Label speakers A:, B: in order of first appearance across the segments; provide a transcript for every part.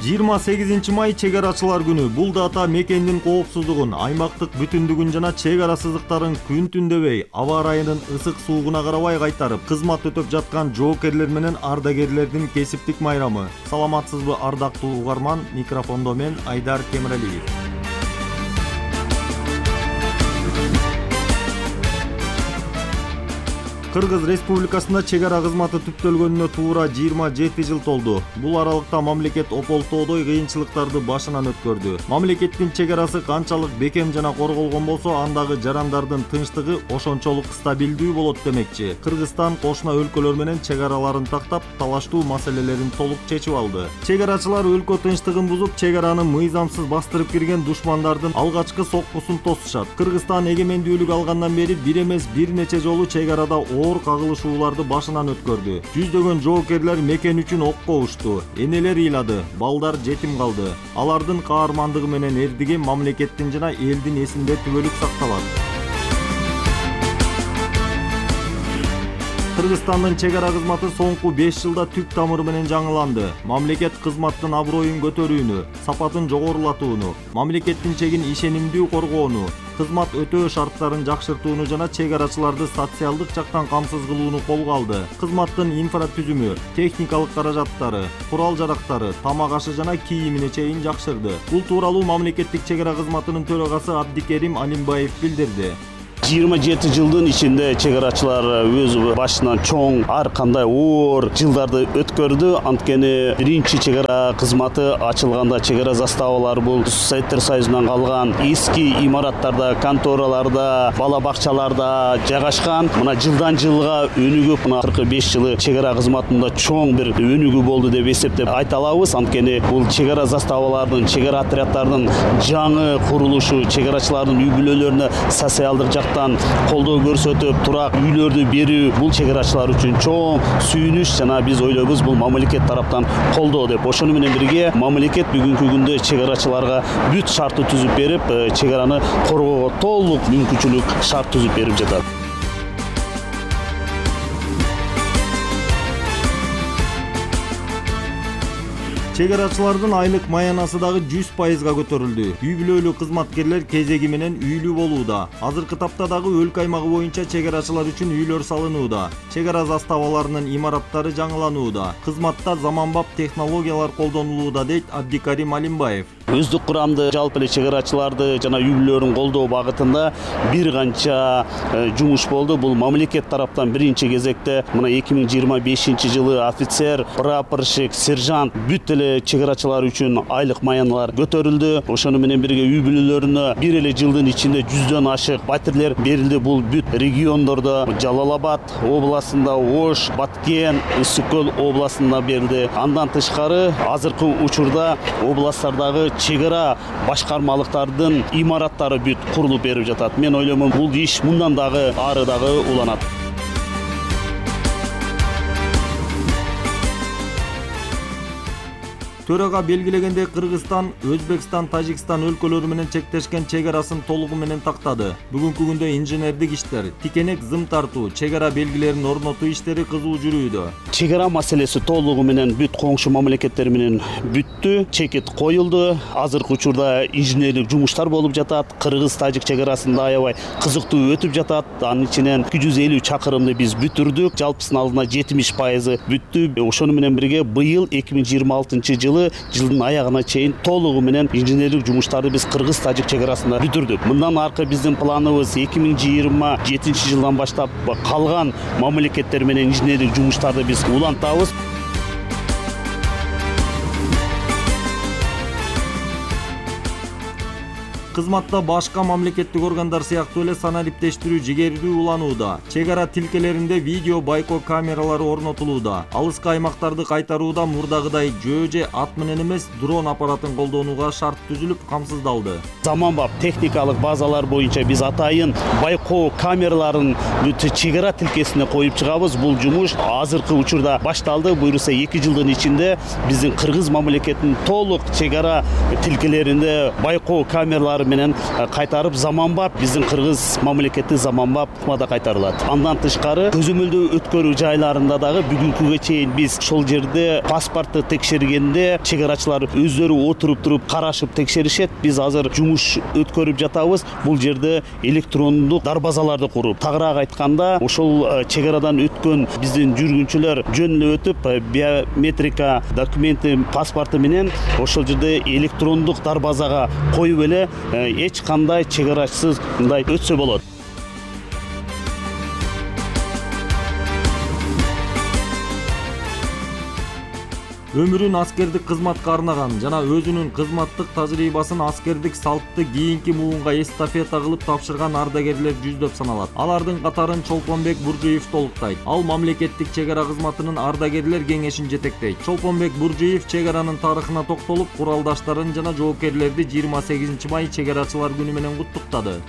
A: 28 май чек арачылар күнү. Бул дата мекендин коопсуздугун, аймактык бүтүндүгүн жана чек ара сызыктарын күн түн дебей, аба ырайынын ысык суугуна карабай кайтарып, кызмат өтөп жаткан жоокерлер менен ардагерлердин кесиптик майрамы. Саламатсызбы ардактуу угарман, микрофондо мен Айдар Темиралиев. Кыргыз Республикасында чек ара кызматы түптөлгөнүнө туура 27 жыл толду. Бул аралыкта мамлекет ополтоодой кыйынчылыктарды башынан өткөрдү. Мамлекеттин чек арасы канчалык бекем жана корголгон болсо, андагы жарандардын тынчтыгы ошончолук стабилдүү болот демекчи. Кыргызстан кошуна өлкөлөр менен чек араларын тактап, талаштуу маселелерин толук чечип алды. Чек арачылар өлкө тынчтыгын бузуп, чек араны мыйзамсыз бастырып кирген душмандардын алгачкы соккусун тосушат. Кыргызстан эгемендүүлүк алгандан бери бир эмес бир нече жолу чек арада оор кагылышууларды башынан өткөрдү. Жүздөгөн жоокерлер мекен үчүн окко ушту, энелер ыйлады, балдар жетим калды. Алардын каармандыгы менен эрдиги мамлекеттин жана элдин эсинде түбөлүк сакталат. Кыргызстандын чек ара кызматы соңку 5 жылда түп тамыры менен жаңыланды. Мамлекет кызматтын аброюн көтөрүүнү, сапатын жогорулатууну, мамлекеттин чегин ишенимдүү коргоону, кызмат өтөө шарттарын жакшыртууну жана чек арачыларды социалдык жактан камсыз кылууну колго алды. Кызматтын инфратүзүмү, техникалык каражаттары, курал-жарактары, тамак ашы жана кийимине чейин жакшырды. Бул тууралуу мамлекеттик чек ара кызматынын төрагасы Абдикерим Алимбаев билдирди.
B: 27 жылдын ичинде чек арачылар өз башынан чоң ар кандай оор жылдарды өткөрдү. Анткени биринчи чек ара кызматы ачылганда чек ара заставалары бул Советтер Союзунан калган эски имараттарда, контораларда, бала бакчаларда жайгашкан. Мына жылдан жылга өнүгүп, мына 45 жылы чек ара кызматында чоң бир өнүгүү болду деп эсептеп айта алабыз. Анткени бул чек ара заставалардын, чек ара отряддардын жаңы курулушу, чек арачылардын үй бүлөлөрүнө социалдык колдоо көрсөтүп, турак үйлөрдү берүү бул чек арачылар үчүн чоң сүйүнүч жана биз ойлойбуз бул мамлекет тараптан колдоо деп. Ошону менен бирге мамлекет бүгүнкү күндө чек арачыларга бүт шартты түзүп берип, чек араны коргоого толук мүмкүнчүлүк шарт түзүп берип жатат.
A: Чек арачылардын айлык маянасы дагы 100%га көтөрүлдү. Үй бүлөлүү кызматкерлер кезеги менен үйлүү болууда. Азыркы тапта дагы өлкө аймагы боюнча чек арачылар үчүн үйлөр салынууда. Чек ара заставаларынын имараттары жаңыланууда. Кызматта заманбап технологиялар колдонулууда, дейт Абдикерим Алимбаев.
B: Өздүк курамды жалпы эле чек арачыларды жана үй бүлөлөрүн колдоо багытында бир канча жумуш болду. Бул мамлекет тараптан биринчи кезекте мына 2025 жылы офицер, прапорщик, сержант бүт эле чек арачылар үчүн айлык маяналар көтөрүлдү. Ошону менен бирге үй бүлөлөрүнө бир эле жылдын ичинде 100дөн ашык батирлер берилди. Бул бүт региондордо Жалал Абад областында, Ош, Баткен, Ысык Көл областында берилди. Андан тышкары азыркы учурда областтардагы чек ара башкармалыктардын имараттары бүт курулуп берип жатат. Мен ойлоймун, бул иш мындан дагы ары дагы уланат.
A: Төрага белгилегенде Кыргызстан, Өзбекстан, Тажикстан өлкөлөрү менен чектешкен чек арасын толугу менен тактады. Бүгүнкү күндө инженердик иштер, тикенек зым тартуу, чек ара белгилерин орнотуу иштери кызуу жүрүүдө.
B: Чек ара маселеси толугу менен бүт коңшу мамлекеттер менен бүттү. Чекит коюлду. Азыркы учурда инженерлик жумуштар болуп жатат. Кыргыз-Тажик чек арасында аябай кызыктуу өтүп жатат. Анын ичинен 250 чакырымды биз бүтүрдүк. Жалпысынын алдына 70% бүттү. Ошону менен бирге быйыл 2026 жылдын аягына чейин толугу менен инженерлик жумуштарды биз Кыргыз-Тажик чек арасында бүтүрдүк. Мындан аркы биздин планыбыз 2027 жылдан баштап калган мамлекеттер менен инженерлик жумуштарды биз улантабыз.
A: Кызматта башка мамлекеттик органдар сыяктуу эле санариптештирүү жигердүү уланууда. Чек ара тилкелеринде видео байкоо камералары орнотулууда. Алыскы аймактарды кайтарууда мурдагыдай жөө же ат менен эмес, дрон аппаратын колдонууга шарт түзүлүп, камсыздалды.
B: Заманбап техникалык базалар боюнча биз атайын байкоо камераларын чек ара тилкесине коюп чыгабыз. Бул жумуш азыркы учурда башталды. Буюрса 2 жылдын ичинде биздин Кыргыз мамлекетинин толук чек ара тилкелеринде байкоо камералары талаптары менен кайтарып заманбап биздин кыргыз мамлекети заманбап формада кайтарылат. Андан тышкары көзөмөлдөө өткөрүү жайларында дагы бүгүнкүгө чейин биз ошол жерде паспортты текшергенде чегарачылар өздөрү отуруп туруп карашып текшеришет. Биз азыр жумуш өткөрүп жатабыз. Бул жерде электрондук дарбазаларды куруп, тагыраак айтканда ошол чегарадан өткөн биздин жүргүнчүлөр жөн эле өтүп биометрика документи паспорту менен ошол жерде электрондук дарбазага коюп эле эч кандай чегарачысыз мындай өтсө болот.
A: Өмүрүн аскердик кызматка арнаган жана өзүнүн кызматтык тажрыйбасын аскердик салтты кийинки муунга эстафета кылып тапшырган ардагерлер жүздөп саналат. Алардын катарын Чолпонбек Буржиев толуктайт. Ал мамлекеттик чегара кызматынын ардагерлер кеңешин жетектейт. Чолпонбек Буржиев чегаранын тарыхына токтолуп, куралдаштарын жана жоопкерлерди 28 май чегарачылар күнү менен куттуктады.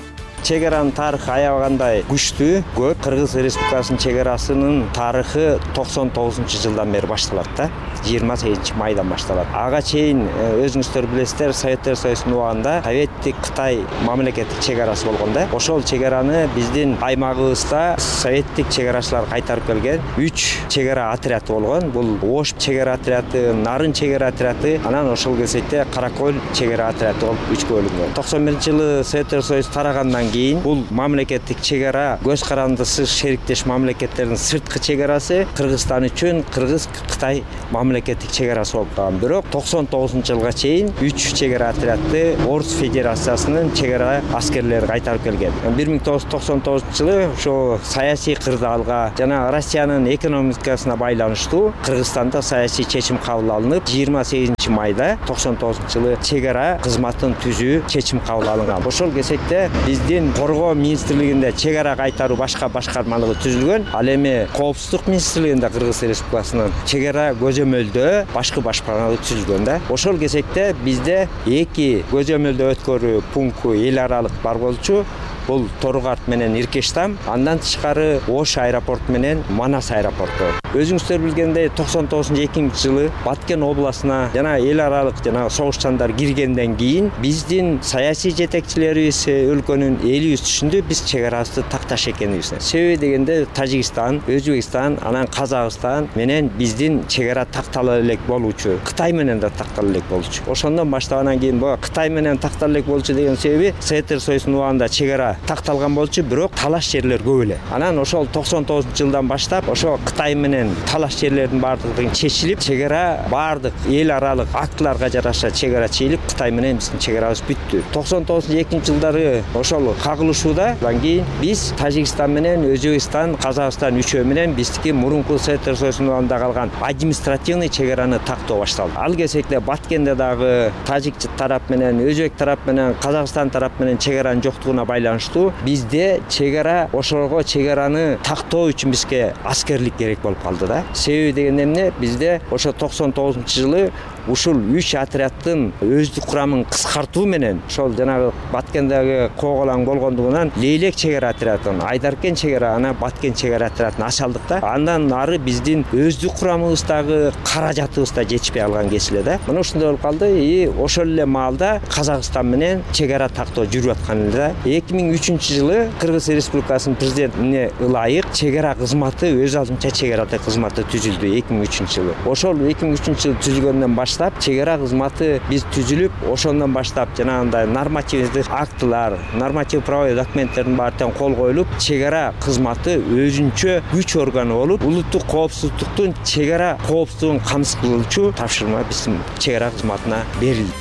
C: Чегаранын тарыхы аябагандай күчтүү, көп. Кыргыз Республикасынын чегарасынын тарыхы 99-жылдан бери башталат да. 28 майдан башталат. Ага чейин өзүңүздөр билесиздер, Советтер Союзунун убагында Советтик Кытай мамлекеттик чегарасы болгон да. Ошол чегараны биздин аймагыбызда советтик чегарачылар кайтарып келген. 3 чегара отряды болгон. Бул Ош чегара отряды, Нарын чегара отряды, анан ошол кезекте Каракөл чегара отряды болуп 3 бөлүнгөн. 91-жылы Советтер Союзу тарагандан кийин бул мамлекеттик чегара көз карандысыз шериктеш мамлекеттердин сырткы чегарасы Кыргызстан үчүн Кыргыз-Кытай мамлекеттик чегарасы болуп калган. Бирок 99-жылга чейин 3 чегара отряды Орус Федерациясынын чегара аскерлери кайтарып келген. 1999-жылы ошо саясий кырдаалга жана Россиянын экономикасына байланыштуу Кыргызстанда саясий чечим кабыл алынып, 28 майда 99-жылы чегара кызматын түзүү чечим кабыл алынган. Ошол кезекте биздин Коргоо министрлигинде чегара кайтаруу башка башкармалыгы түзүлгөн. Ал эми Коопсуздук министрлигинде Кыргыз Республикасынын чегара көзөмөлдөө башкы башкармалыгы түзүлгөн да. Ошол кезекте бизде 2 көзөмөлдөө өткөрүү пункту эл аралык бар болчу. Бул Торугарт менен Иркештам, андан тышкары Ош аэропорту менен Манас аэропорту. Өзүңүздөр билгендей 99-жылы Баткен областына жана эл аралык жана согушчандар киргенден кийин биздин саясий жетекчилерибиз өлкөнүн эли үз түшүндү биз чегарабызды такташ экенибизди. Себеби дегенде Тажикстан, Өзбекстан, анан Казакстан менен биздин чегара тактала элек болчу. Кытай менен да тактала элек болчу. Ошондон баштагандан кийин бу Кытай менен тактала элек болчу деген себеби Советтер Союзунун убагында чегара такталган болчу, бирок талаш жерлер көп эле. Анан ошол 99-жылдан баштап ошо Кытай менен талаш жерлердин баардыгы чечилип, чегара баардык эл аралык актыларга жараша чегара чечилип, Кытай менен биздин чегарабыз бүттү. 99-жылдары ошол кагылышуудан кийин биз Тажикстан менен Өзбекстан, Казакстан үчөө менен биздики мурунку Советтер Союзунун убагында калган административный чегараны тактоо башталды. Ал кезекте Баткенде дагы Тажик тарап менен, Өзбек тарап менен, Казакстан тарап менен чегаранын жоктугуна байланыштуу бизде чегара ошого чегараны тактоо үчүн бизге аскерлик керек болуп калды да. Себеби дегенде эмне? Бизде ошо 99-жылы ушул 3 отряддын өздүк курамын кыскартуу менен ошол жанагы Баткендеги Коголаң болгондугунан Лейлек чегара отрядын, Айдаркен чегара, анан Баткен чегара отрядын ачалдык да. Андан ары биздин өздүк курамыбыздагы каражатыбыз да жетишпей калган кесиле да. Мына ушундай болуп калды. Ошол эле маалда Казакстан менен чегара тактоо жүрүп аткан эле да. 2003-жылы Кыргыз Республикасынын президентине ылайык чегара кызматы өз алдынча чегара кызматы түзүлдү 2003-жылы. Ошол 2003-жылы түзүлгөндөн баштап чегара кызматы биз түзүлүп, ошондон баштап жанагындай нормативдик актылар, норматив правовой документтердин баары кол коюлуп, чегара кызматы өзүнчө күч органы болуп, улуттук коопсуздуктун чегара коопсуздугун камсыз кылуучу тапшырма биздин чегара кызматына берилди.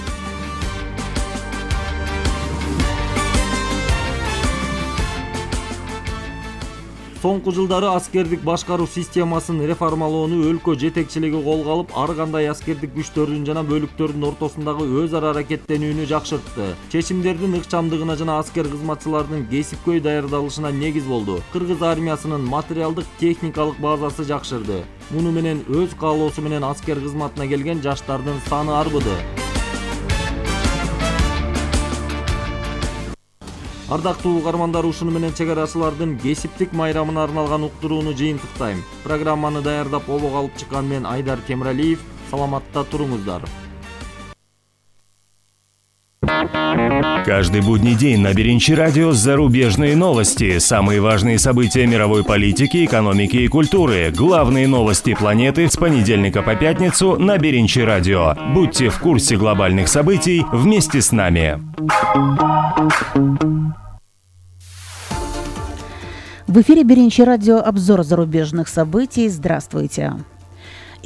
A: Соңку жылдары аскердик башкаруу системасын реформалоону өлкө жетекчилиги колго алып, ар кандай аскердик күчтөрдүн жана бөлүктөрдүн ортосундагы өз ара аракеттенүүнү жакшыртты. Чечимдердин ыкчамдыгына жана аскер кызматчылардын кесипкөй даярдалышына негиз болду. Кыргыз армиясынын материалдык техникалык базасы жакшырды. Муну менен өз каалоосу менен аскер кызматына келген жаштардын саны арбыды. Ардактуу угармандар, ушуну менен чегарачылардын кесиптик майрамына арналган уктурууну жыйынтыктайм. Программаны даярдап обого алып чыккан мен Айдар Темиралиев. Саламатта туруңуздар.
D: Каждый будний день на Беренчи радио зарубежные новости, самые важные события мировой политики, экономики и культуры, главные новости планеты с понедельника по пятницу на Беренчи радио. Будьте в курсе глобальных событий вместе с нами.
E: В эфире Беренчи радио, обзор зарубежных событий. Здравствуйте.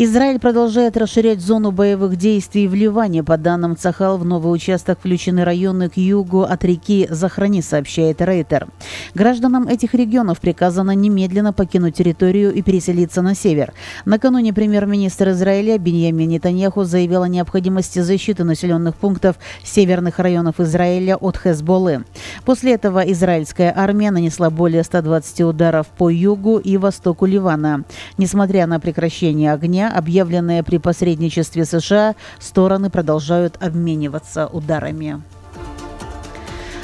E: Израиль продолжает расширять зону боевых действий в Ливане. По данным Цахал, в новый участок включены районы к югу от реки Захрани, сообщает Рейтер. Гражданам этих регионов приказано немедленно покинуть территорию и переселиться на север. Накануне премьер-министр Израиля Биньямин Нетаньяху заявил о необходимости защиты населенных пунктов северных районов Израиля от Хезболлы. После этого израильская армия нанесла более 120 ударов по югу и востоку Ливана. Несмотря на прекращение огня, объявленное при посредничестве США, стороны продолжают обмениваться ударами.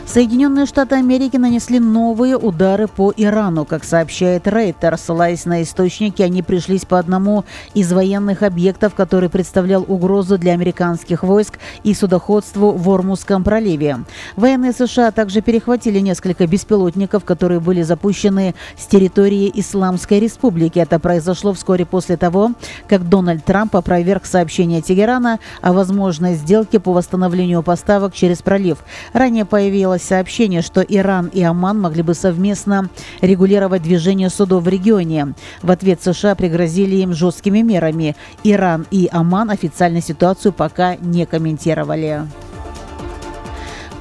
E: Соединенные Штаты Америки нанесли новые удары по Ирану. Как сообщает Рейтер, ссылаясь на источники, они пришлись по одному из военных объектов, который представлял угрозу для американских войск и судоходству в Ормузском проливе. Военные США также перехватили несколько беспилотников, которые были запущены с территории Исламской Республики. Это произошло вскоре после того, как Дональд Трамп опроверг сообщение Тегерана о возможной сделке по восстановлению поставок через пролив. Ранее появилось сообщение, что Иран и Оман могли бы совместно регулировать движение судов в регионе. В ответ США пригрозили им жесткими мерами. Иран и Оман официально ситуацию пока не комментировали.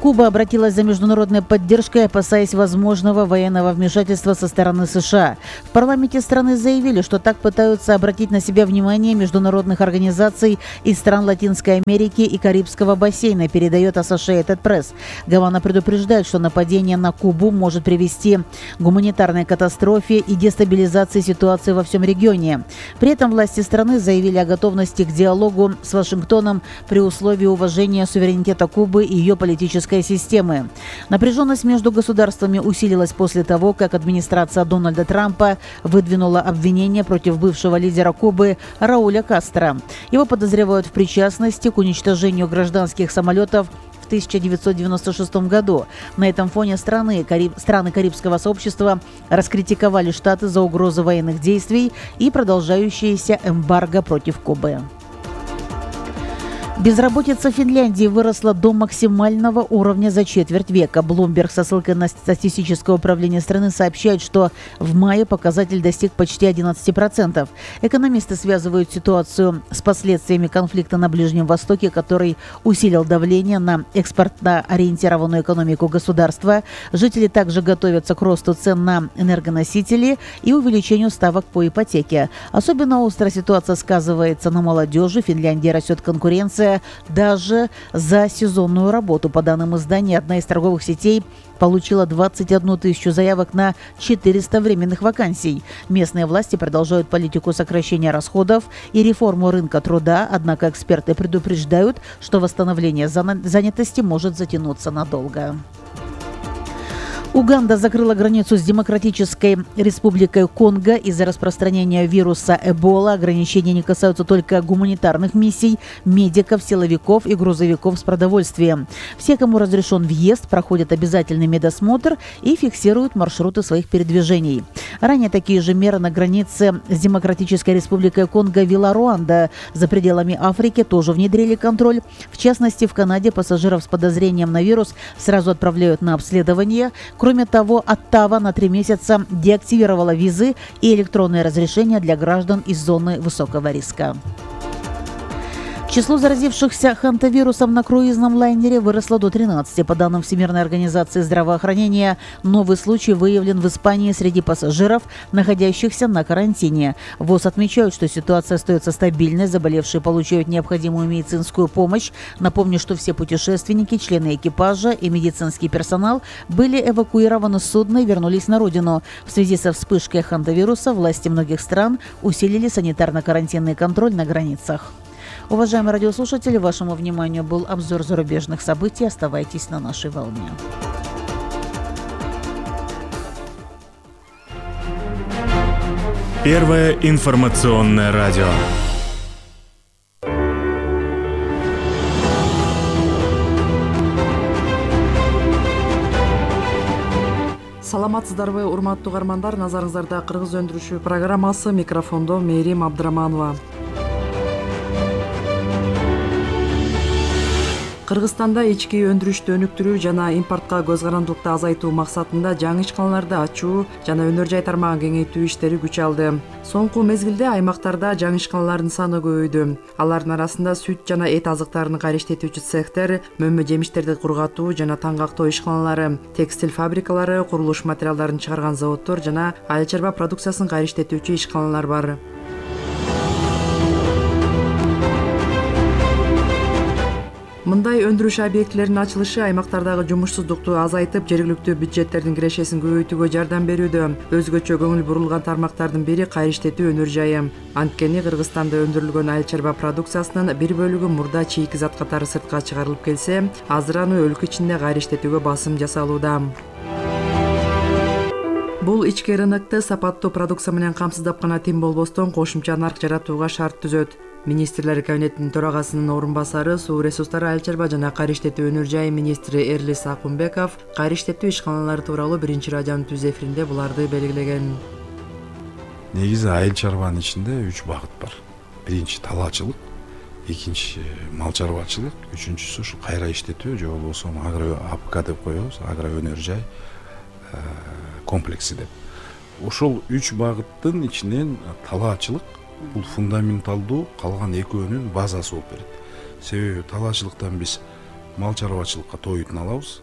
E: Куба обратилась за международной поддержкой, опасаясь возможного военного вмешательства со стороны США. В парламенте страны заявили, что так пытаются обратить на себя внимание международных организаций из стран Латинской Америки и Карибского бассейна, передает Associated Press. Гавана предупреждает, что нападение на Кубу может привести к гуманитарной катастрофе и дестабилизации ситуации во всем регионе. При этом власти страны заявили о готовности к диалогу с Вашингтоном при условии уважения суверенитета Кубы и ее политической системы. Напряженность между государствами усилилась после того, как администрация Дональда Трампа выдвинула обвинения против бывшего лидера Кубы Рауля Кастро. Его подозревают в причастности к уничтожению гражданских самолетов в 1996 году. На этом фоне страны Карибского сообщества раскритиковали Штаты за угрозу военных действий и продолжающееся эмбарго против Кубы. Безработица в Финляндии выросла до максимального уровня за четверть века. Bloomberg со ссылкой на статистическое управление страны сообщает, что в мае показатель достиг почти 11%. Экономисты связывают ситуацию с последствиями конфликта на Ближнем Востоке, который усилил давление на экспортно-ориентированную экономику государства. Жители также готовятся к росту цен на энергоносители и увеличению ставок по ипотеке. Особенно острая ситуация сказывается на молодежи. В Финляндии растет конкуренция даже за сезонную работу. По данным издания, одна из торговых сетей получила 21 тысячу заявок на 400 временных вакансий. Местные власти продолжают политику сокращения расходов и реформу рынка труда, однако эксперты предупреждают, что восстановление занятости может затянуться надолго. Уганда закрыла границу с Демократической Республикой Конго из-за распространения вируса Эбола. Ограничения не касаются только гуманитарных миссий, медиков, силовиков и грузовиков с продовольствием. Все, кому разрешен въезд, проходят обязательный медосмотр и фиксируют маршруты своих передвижений. Ранее такие же меры на границе с Демократической Республикой Конго ввела Руанда. За пределами Африки тоже внедрили контроль. В частности, в Канаде пассажиров с подозрением на вирус сразу отправляют на обследование. Кроме того, Оттава на 3 месяца деактивировала визы и электронные разрешения для граждан из зоны высокого риска. Число заразившихся хантавирусом на круизном лайнере выросло до 13. По данным Всемирной организации здравоохранения, новый случай выявлен в Испании среди пассажиров, находящихся на карантине. ВОЗ отмечают, что ситуация остается стабильной, заболевшие получают необходимую медицинскую помощь. Напомню, что все путешественники, члены экипажа и медицинский персонал были эвакуированы с судна и вернулись на родину. В связи со вспышкой хантавируса власти многих стран усилили санитарно-карантинный контроль на границах. Уважаемые радиослушатели, вашему вниманию был обзор зарубежных событий. Оставайтесь на нашей волне.
D: Первое информационное радио.
F: Саламатсыздарбы, урматтуу угармандар? Назарыңыздарда Кыргыз өндүрүшү программасы, микрофондо Мээрим Абдыраманова. Кыргызстанда ички өндүрүштү өнүктүрүү жана импортко көз карандылыкты азайтуу максатында жаңы ишканаларды ачуу жана өнөр жай тармагын кеңейтүү иштери күч алды. Соңку мезгилде аймактарда жаңы ишканалардын саны көбөйдү. Алардын арасында сүт жана эт азыктарын кайра иштетүүчү цехтер, мөмө жемиштерди кургатуу жана таңгактоо ишканалары, текстиль фабрикалары, курулуш материалдарын чыгарган заводдор жана айыл чарба продукциясын кайра иштетүүчү ишканалар бар. Мындай өндүрүш объектилеринин ачылышы аймактардагы жумушсуздукту азайтып, жергиликтүү бюджеттердин кирешесин көбөйтүүгө жардам берүүдө. Өзгөчө көңүл бурулган тармактардын бири кайра иштетүү өнөр жайы. Анткени Кыргызстанда өндүрүлгөн айыл чарба продукциясынын бир бөлүгү мурда чийки зат катары сыртка чыгарылып келсе, азыр аны өлкө ичинде кайра иштетүүгө басым жасалууда. Бул ички рынокто сапаттуу продукция менен камсыздап гана тим болбостон, кошумча нарк жаратууга шарт түзөт. Министрлер кабинетинин төрагасынын орун басары, суу ресурстары, айыл чарба жана кайра иштетүү өнөр жайы министри Эрлис Акунбеков кайра иштетүү ишканалары тууралуу биринчи радионун түз эфиринде буларды белгилеген.
G: Негизи айыл чарбанын ичинде 3 багыт бар. Биринчи талаачылык, экинчи мал чарбачылык, үчүнчүсү ушу кайра иштетүү же болбосо агро АПК деп коебуз, агро өнөр жай комплекси деп. Ошол 3 багыттын ичинен талаачылык бул фундаменталдуу, калган экөөнүн базасы болуп берет. Себеби талаачылыктан биз мал чарбачылыкка тоютун алабыз.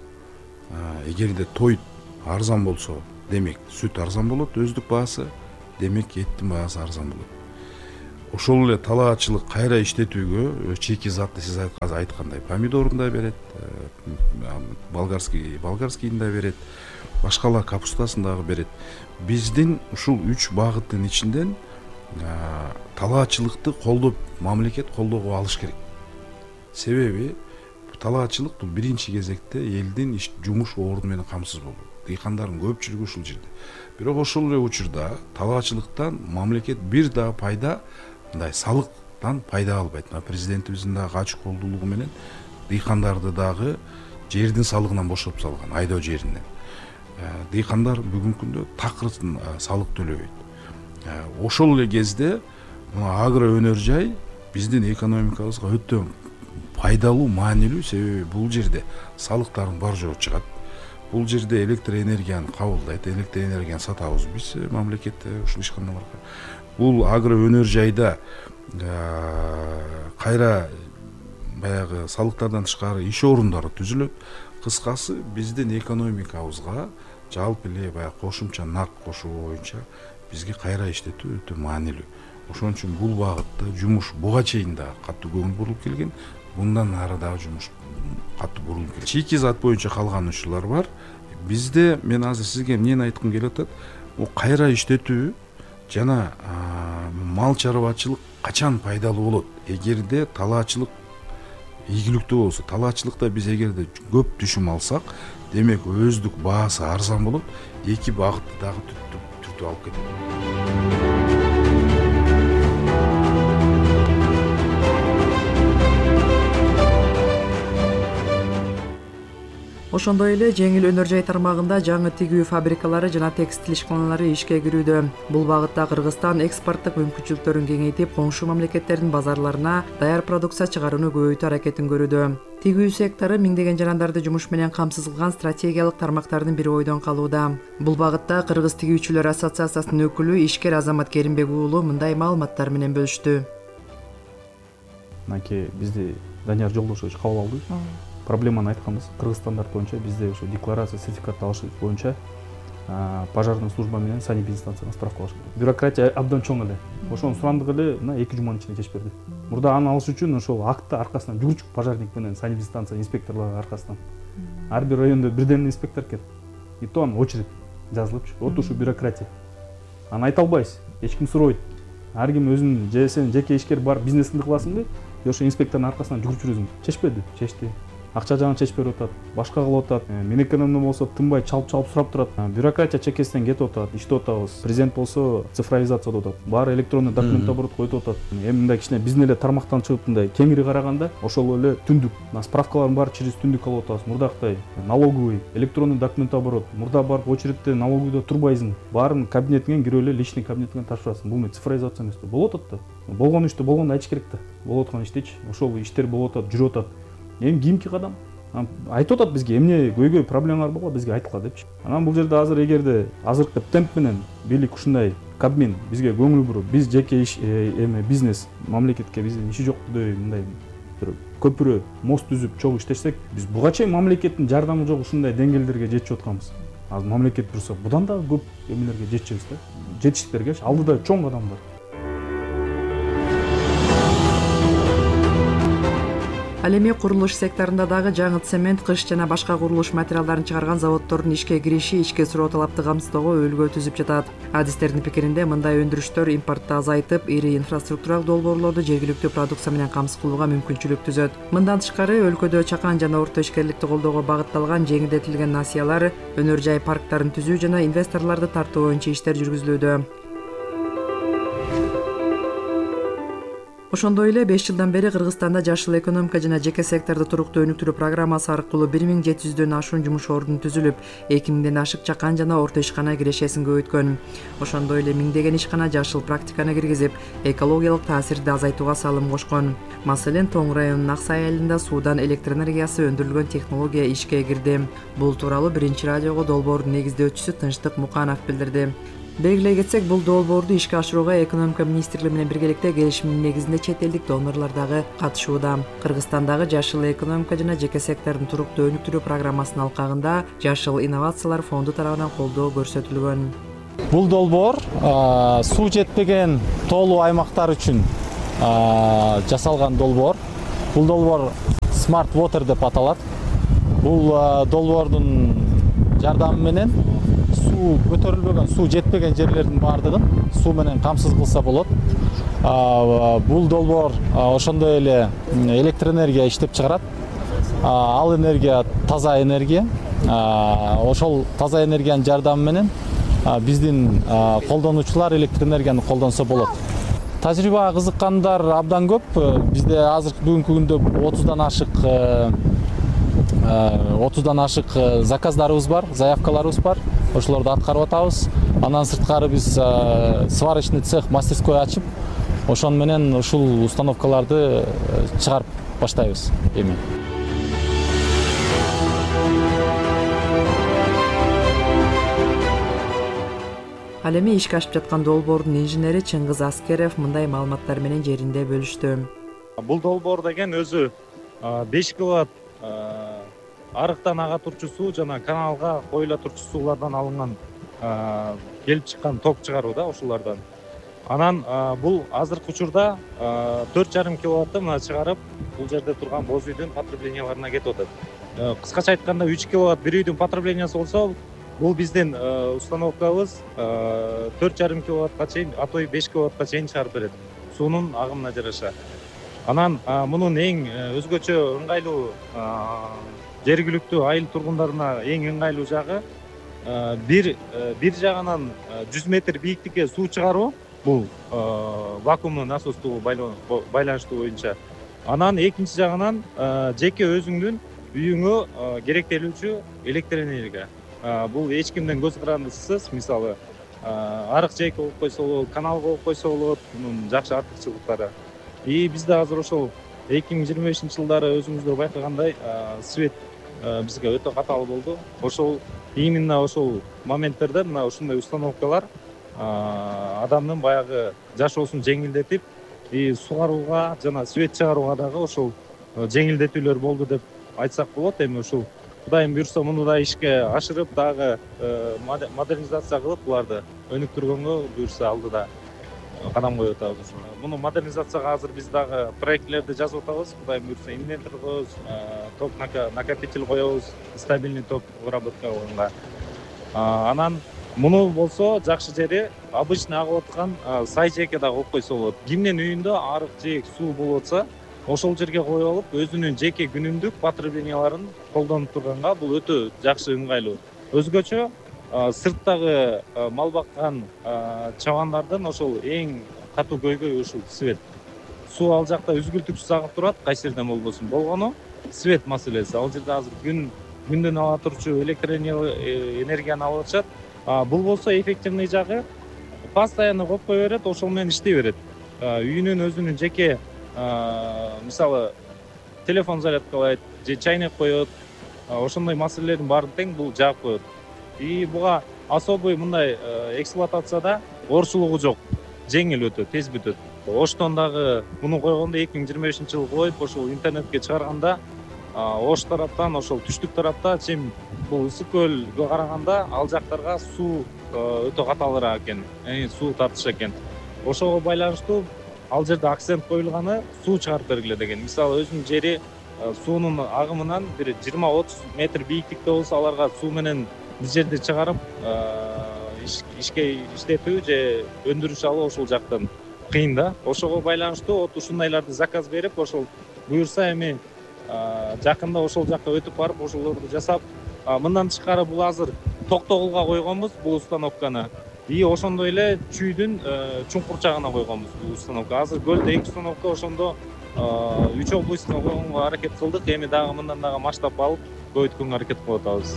G: Эгерде тоют арзан болсо, демек сүт арзан болот, өздүк баасы, демек эттин баасы арзан болот. Ошол эле талаачылык кайра иштетүүгө чийки затты сиз айткандай помидорун да берет, болгарскийин да берет, башкалар капустасын дагы берет. Биздин ушул 3 багыттын ичинден талаачылыкты колдоп, мамлекет колдоого алыш керек. Себеби талаачылык бул биринчи кезекте элдин жумуш орду менен камсыз болуу. Дыйкандардын көпчүлүгү ушул жерде. Бирок ошол эле учурда талаачылыктан мамлекет бир да пайда, мындай салыктан пайда албайт. Президентибиздин дагы ачык колдуулугу менен дыйкандарды дагы жердин салыгынан бошотуп салган, айдоо жеринен. Дыйкандар бүгүнкү күндө такыр салык төлөбөйт. Ошол эле кезде агро өнөр жай биздин экономикабызга өтө пайдалуу, маанилүү, себеби бул жерде салыктардын бар жогу чыгат. Бул жерде электр энергияны кабылдайт, электр энергияны сатабыз биз мамлекетте ушул ишканаларга. Бул агро өнөр жайда кайра баягы салыктардан тышкары иш орундары түзүлөт. Кыскасы биздин экономикабызга жалпы эле баягы кошумча нарк кошуу боюнча бизге кайра иштетүү өтө маанилүү. Ошон үчүн бул багытта жумуш буга чейин да катуу көңүл бурулуп келген, мындан ары дагы жумуш катуу бурулуп келет. Чийки зат боюнча калган ушулар бар. Бизде мен азыр сизге эмнени айткым келип атат? Кайра иштетүү жана мал чарбачылык качан пайдалуу болот? Эгерде талаачылык ийгиликтүү болсо, талаачылыкта биз эгерде көп түшүм алсак, демек өздүк баасы арзан болот, эки багытты дагы түртүп алып кетет.
F: Ошондой эле жеңил өнөр жай тармагында жаңы тигүү фабрикалары жана текстиль ишканалары ишке кирүүдө. Бул багытта Кыргызстан экспорттук мүмкүнчүлүктөрүн кеңейтип, коңшу мамлекеттердин базарларына даяр продукция чыгарууну көбөйтүү аракетин көрүүдө. Тигүү сектору миңдеген жарандарды жумуш менен камсыз кылган стратегиялык тармактардын бири ойдон калууда. Бул багытта Кыргыз тигүүчүлөр ассоциациясынын өкүлү ишкер Азамат Керимбек уулу мындай маалыматтар менен бөлүштү.
H: Мынакей бизди Данияр Жолдошевич кабыл алды. Проблеманы айтканбыз. Кыргыз стандарт боюнча бизде ошо декларация, сертификат алыш боюнча пожарный служба менен санэпидстанцияга справка алыш керек. Бюрократия абдан чоң эле. Ошону сурандык эле 2 жуманын ичинде чечип берди. Мурда аны алыш үчүн ошол акты аркасынан жүгүрчүк пожарник менен санэпидстанция инспекторлору аркасынан ар бир райондо бирден инспектор экен. И то анын очередь жазылыпчы. Вот ушу бюрократия. Аны айта албайсыз. Эч ким сурабайт. Ар ким өзүнүн же сен жеке ишкер бар бизнесиңди кыласыңбы? Же ошо инспектордун аркасынан жүгүрүп жүрөсүң? Чечпеди, чечти. акча жагын чечип берип атат, башка кылып атат. Менекенемден болсо тынбай чалып сурап турат. Бюрократия чекесинен кетип атат, иштеп атабыз. Президент болсо цифровизация деп атат. Баары электронный документ оборот коюп атат. Эми мындай кичине биздин эле тармактан чыгып мындай кеңири караганда ошол эле түндүк справкалардын баары через түндүк алып атабыз. Мурдактай налоговый, электронный документ оборот. Мурда барып очередте налоговыйда турбайсың. Баарын кабинетиңен кирип эле личный кабинетиңен ташырасың. Бул цифровизация эмес. Болуп атат да. Болгон ишти болгондо айтыш керек да. Болуп аткан иштичи. Ошол иштер болуп атат, жүрүп атат. Эми кийинки кадам айтып атат бизге эмне көйгөй проблемалар болго бизге айткыла депчи. Анан бул жерде азыр эгерде азыркы темп менен бийлик ушундай Кабмин бизге көңүл буруп, биз жеке иш бизнес мамлекетке биздин иши жоктой мындай бир көпүрө мост түзүп чогуу иштесек, биз буга чейин мамлекеттин жардамы жок ушундай деңгээлдерге жетип атканбыз. Азыр мамлекет бурса будан да көп эмелерге жетишебиз да. Жетиштиктерге алдыда чоң кадам бар.
F: Ал эми курулуш секторунда дагы жаңы цемент, кыш жана башка курулуш материалдарын чыгарган заводдордун ишке кириши ички суроо талапты камсыздоого өбөлгө түзүп жатат. Адистердин пикиринде мындай өндүрүштөр импортду азайтып, ири инфраструктуралык долбоорлорду жергиликтүү продукция менен камсыз кылууга мүмкүнчүлүк түзөт. Мындан тышкары өлкөдө чакан жана орто ишкерликти колдоого багытталган жеңилдетилген насыялар, өнөр жай парктарын түзүү жана инвесторлорду тартуу боюнча иштер жүргүзүлүүдө. Ошондой эле 5 жылдан бери Кыргызстанда жашыл экономика жана жеке секторду туруктуу өнүктүрүү программасы аркылуу 1700дөн ашуун жумуш ордун түзүлүп, 2000ден ашык чакан жана орто ишкана кирешесин көбөйткөн. Ошондой эле миңдеген ишкана жашыл практиканы киргизип, экологиялык таасирди азайтууга салым кошкон. Маселен, Тоң районунун Ак Сай айылында суудан электр энергиясы өндүрүлгөн технология ишке кирди. Бул тууралуу Биринчи радиого долбоордун негиздөөчүсү Тынчтык Муканов билдирди. Белгилей кетсек, бул долбоорду ишке ашырууга экономика министрлиги менен биргеликте келишимдин негизинде чет элдик донорлор дагы катышууда. Кыргызстандагы жашыл экономика жана жеке сектордун туруктуу өнүктүрүү программасынын алкагында Жашыл инновациялар фонду тарабынан колдоо көрсөтүлгөн.
I: Бул долбоор суу жетпеген тоолуу аймактар үчүн жасалган долбоор. Бул долбоор Smart Water деп аталат. Бул долбоордун жардамы менен суу көтөрүлбөгөн, суу жетпеген жерлердин баардыгын суу менен камсыз кылса болот. Бул долбоор ошондой эле электр энергия иштеп чыгарат. Ал энергия таза энергия. Ошол таза энергиянын жардамы менен биздин колдонуучулар электр энергияны колдонсо болот. Тажрыйбага кызыккандар абдан көп. Бизде азыр бүгүнкү күндө 30дан ашык заказдарыбыз бар, заявкаларыбыз бар. Ошолорду аткарып атабыз. Андан сырткары биз сварочный цех, мастерской ачып, ошон менен ушул установкаларды чыгарып баштайбыз эми.
F: Ал эми ишке ашып жаткан долбоордун инженери Чыңгыз Аскеров мындай маалыматтар менен жеринде бөлүштү.
J: Бул долбоор деген өзү 5 киловатт арыктан ага турчу суу жана каналга коюла турчу суулардан алынган келип чыккан ток чыгаруу да ошолордон. Анан бул азыркы учурда 4,5 киловатты мына чыгарып, бул жерде турган боз үйдүн потребленияларына кетип атат. Кыскача айтканда 3 киловатт бир үйдүн потреблениясы болсо, бул биздин установкабыз 4,5 киловаттка чейин, а то и 5 киловаттка чейин чыгарып берет суунун агымына жараша. Анан мунун эң өзгөчө ыңгайлуу жергиликтүү айыл тургундарына эң ыңгайлуу жагы бир жагынан 100 метр бийиктикке суу чыгаруу, бул вакуумдуу насостуу байланыштуу боюнча. Анан экинчи жагынан жеке өзүңдүн үйүңө керектелүүчү электр энергия. Бул эч кимден көз карандысыз, мисалы арык жээкке коюп койсо болот, каналга коюп койсо болот, мунун жакшы артыкчылыктары. И бизде азыр ошол 2025-жылдары өзүңүздөр байкагандай свет бизге өтө катаал болду. Ошол именно ошол моменттерде мына ушундай установкалар адамдын баягы жашоосун жеңилдетип, сугарууга жана свет чыгарууга дагы ошол жеңилдетүүлөр болду деп айтсак болот. Эми ушул Кудайым буйрса муну да ишке ашырып, дагы модернизация кылып, буларды өнүктүргөнгө буйрса алдыда кадам коюп атабыз. Муну модернизацияга азыр биз дагы проектлерди жазып атабыз. Кудайым буйрса инвентор коебуз, ток накопитель коебуз, стабильный ток выработкаланганга. Анан муну болсо жакшы жери обычный агып аткан сай жээкке дагы коюп койсо болот. Кимдин үйүндө арык жээк суу болуп атса, ошол жерге коюп алып өзүнүн жеке күнүмдүк потребленияларын колдонуп турганга бул өтө жакшы, ыңгайлуу. Өзгөчө сырттагы мал баккан чабандардын ошол эң катуу көйгөйү ушул свет. Суу ал жакта үзгүлтүксүз агып турат, кайсы жерден болбосун. Болгону свет маселеси. Ал жерде азыр күндөн ала турчу электр энергияны алып атышат. Бул болсо эффективный жагы постоянно копкой берет, ошол менен иштей берет. Үйүнүн өзүнүн жеке мисалы телефон зарядкалайт же чайнек коет, ошондой маселелердин баарын тең бул жаап коет. И буга особый мындай эксплуатацияда оорчулугу жок, жеңил өтөт, тез бүтөт. Оштон дагы муну койгондо 2025-жылы коюп, ошол интернетке чыгарганда Ош тараптан, ошол түштүк тарапта чим бул ысык көлгө караганда ал жактарга суу өтө каталыраак экен, суу тартыш экен. Ошого байланыштуу ал жерде акцент коюлганы суу чыгарып бергиле деген. Мисалы өзүнүн жери суунун агымынан бир 20-30 метр бийиктикте болсо, аларга суу менен биз жерди чыгарып ишке иштетүү же өндүрүш алуу ошол жактан кыйын да. Ошого байланыштуу ушундайларды заказ берип, ошол буюрса эми жакында ошол жакка өтүп барып, ошолорду жасап, мындан тышкары бул азыр Токтогулга койгонбуз бул установканы. И ошондой эле Чүйдүн чуңкурчагына койгонбуз бул установка. Азыр көлдө 2 установка, ошондо 3 областька койгонго аракет кылдык. Эми дагы мындан дагы масштаб алып көбөйткөнгө аракет кылып атабыз.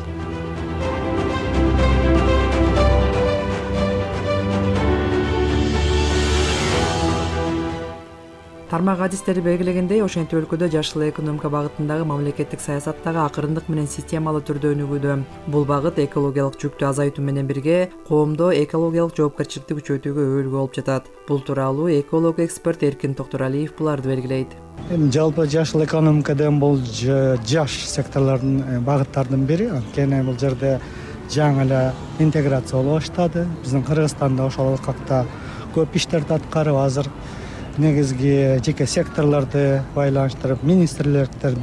F: Тармак адистери белгилегендей, ошентип өлкөдө жашыл экономика багытындагы мамлекеттик саясат дагы акырындык менен системалуу түрдө өнүгүүдө. Бул багыт экологиялык жүктү азайтуу менен бирге коомдо экологиялык жоопкерчиликти күчөтүүгө өбөлгө болуп жатат. Бул тууралуу эколог эксперт Эркин Токтуралиев буларды белгилейт.
K: Эми жалпы жашыл экономика деген бул жаш секторлордун багыттардын бири. Анткени бул жерде жаңы эле интеграция боло баштады. Биздин Кыргызстанда ошол алкакта көп иштерди аткарып, азыр негизги жеке секторлорду байланыштырып, министрликтерди